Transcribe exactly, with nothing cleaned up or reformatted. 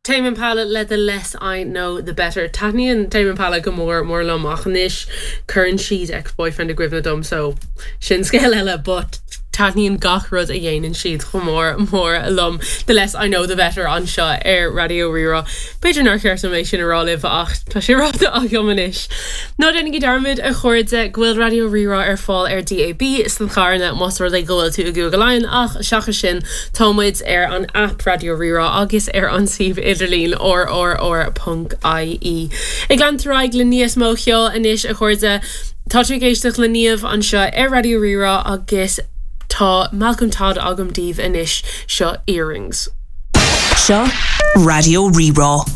Tame Impala le the less I know the better. Taitníonn Tame Impala go mór mór liom ach anois cuireann siad ex-boyfriend i gcuimhne dom so sin scéal eile, but taitníonn gach rud a dhéanann siad chomh mór mór liom the less I know the better anseo ar Raidió Rí-Rá. B'fhéidir nár cheart dom é sin a rá libh ach tá sé ráite agam anois. Ná déanaigí dearmad a chairde go bhfuil Raidió Rí-Rá ar fáil ar DAB sna carranna más rud é go bhfuil tú i gCúige Laighean ach seachas sin tá muid ar an app Raidió Rí-Rá agus ar an suíomh idirlín rrr.ie. Ag leanúint ar aghaidh le níos mó ceoil anois a chairde Tá tú ag éisteacht le Niamh anseo ar Raidió Rí-Rá agus tá Malcolm Todd agam daoibh anois seo earrings. Seo Raidió Rí-Rá.